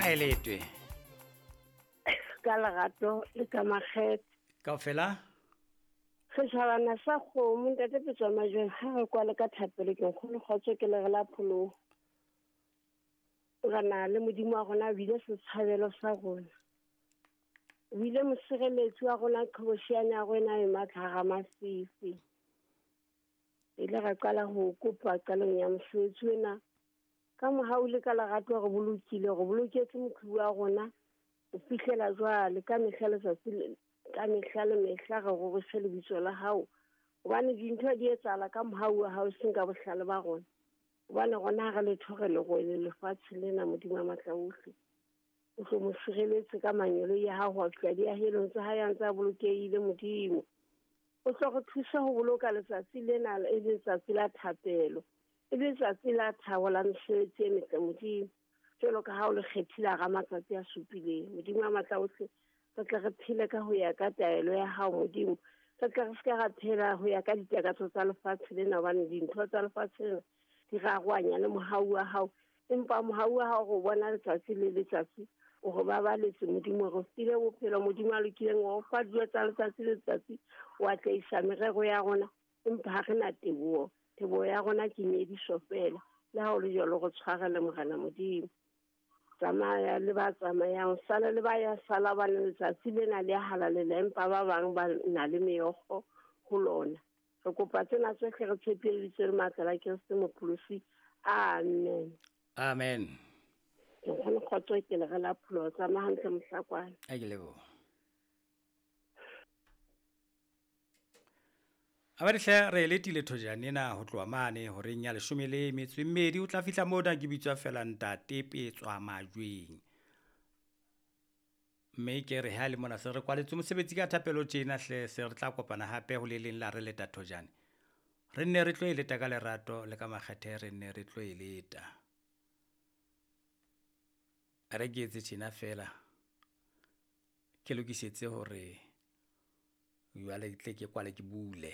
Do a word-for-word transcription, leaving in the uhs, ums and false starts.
Ha e letwe. Ka lerato le ka makgethe. Kaofela? Setjhabana sa kgomo ntate Petswa Majweng ha re kwale ka thapelo ke nkgono kgotso ke lere la pholoho. Re na le Modimo wa rona o bile setshabelo sa rona. O bile mosireletsi wa rona qhobosheane ya rona e matla hara mafifi. Ile ra qala ho kopa qalong ya mosebetsi ona. Ka mohau le ka lerato re bolokile, re boloketse moqhubu wa rona ho fihlela jwale ka mehla letsatsi ka mehla le mehla re rorise lebitso la hao. Hobane dintho di etsahala ka mohau wa hao seng ka bohlale ba rona. Hobane rona ha re letho re le rwele lefatshe lena Modimo wa matla ohle. O tlo mo sireletse ka mangeloi a hao ho fihla diahelong tsa hae a ntse a bolokehile Modimo. O tlo re thusa ho boloka letsatsi lena e le letsatsi la thapelo. E le letsatsi la thabo la mesebetsi e metle Modimo. Jwalo ka ha o le kgethile hara matsatsi a supileng. Modimo wa matla ohle, re tle re phele ka ho ya ka taelo ya hao Modimo. Re tle re se ka ra phela ho ya ka ditakatso tsa lefatshe lena hobane dintho tsa lefatshe lena di rarohanya le mohau wa hao. Empa mohau wa hao re o bona letsatsi le letsatsi, o re babaletse Modimo, re file bophelo Modimo a lokileng, o re fa dijo tsa letsatsi le letsatsi, o atlehisa merero ya rona. Empa ha re na teboho, teboho ya rona ke nyediso feela. Le ha ho le jwalo re tshwarele Morena Modimo. Tsamaya le ba tsamayang, sala le ba ya sala hobane letsatsi lena le a halalela, empa ba bang ba na le meokgo ho lona. Re kopa tsena tsohle re tshepile lebitso le matla la Kreste Mopholosi. Amen. Amen. Ke kgone kgotso ke le re la pholoho. Tsamaya hantle mohlakwana. A ke leboha. A ba hle re letile thojane ena ho tloha mane horeng ya leshome le metso e mmedi o tla fihla mona ke bitswa fela ntate Petswa Majweng. Mme ke re ha le mona se re kwaletse mosebetsi ka thapelo tjena hle se re tla kopana hape ho le leng la re leta thojane. Re nne re tlo e leta ka lerato le ka makgethe re nne re tlo e leta. A re ke etse tjena fela. Ke lokisetse hore jwale ke tle ke kwale ke bule.